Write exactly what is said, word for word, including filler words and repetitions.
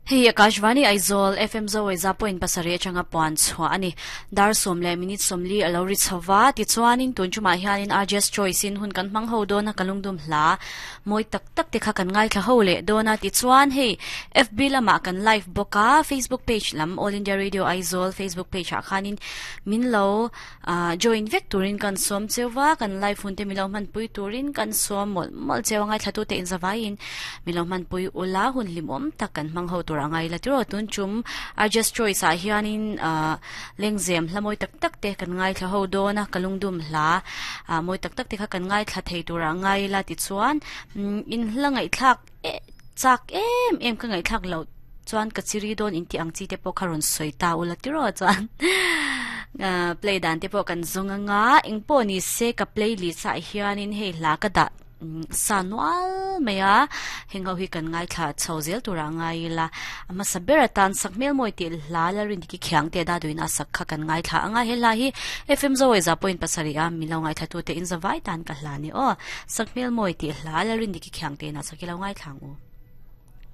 Hei Akashvani Aizawl F M Zawai za point pasarih atanga puan chhuah a ni. Dar sawm leh minute sawmli a lo ri chhova tichuanin tun chumah hianin R J S Choice in hun kan hmang ho dawn a ka lungdum hla mawi tak tak te kha kan ngaithla ho leh dawn a tichuan hei F B lamah kan live bawk a Facebook page lam All India Radio Aizawl Facebook page ah khanin min lo join vek turin kan sawm cheuva kan live hun te min lo hmanpui turin kan sawm mawlh mawlh cheu a ngaithla tu te inzavaiin min lo hmanpui ula hun hlimawm tak kan hmang ho tur angai la tiro tun chum R J S Choice ah hianin lengzem hla mawi tak tak te kan ngai thla ho dawn a kalungdum hla mawi tak tak te kha kan ngai thla thei tur angai la tichuan in hla ngai thlak chak em em ka ngai thlak lo chuan ka chiri dawn in ti ang chi te pawh kha rawn sawi ta ula tiro chuan play dan te pawh kan zawng anga engpawh ni se ka playlist ah hianin hei hla ka dah sanual mai a heng ho hi kan ngai thla chho zel tur angai ila ama sabera tan sakhmel moi ti hla la rin ki khiang te da duin a sak kha kan ngai thla anga he hla hi F M Zawai za point pasarih a milo ngai thla tu te in zawai tan ka hla ni o sakhmel moi ti hla la rin ki khiang te na sakilo ngai thlang u.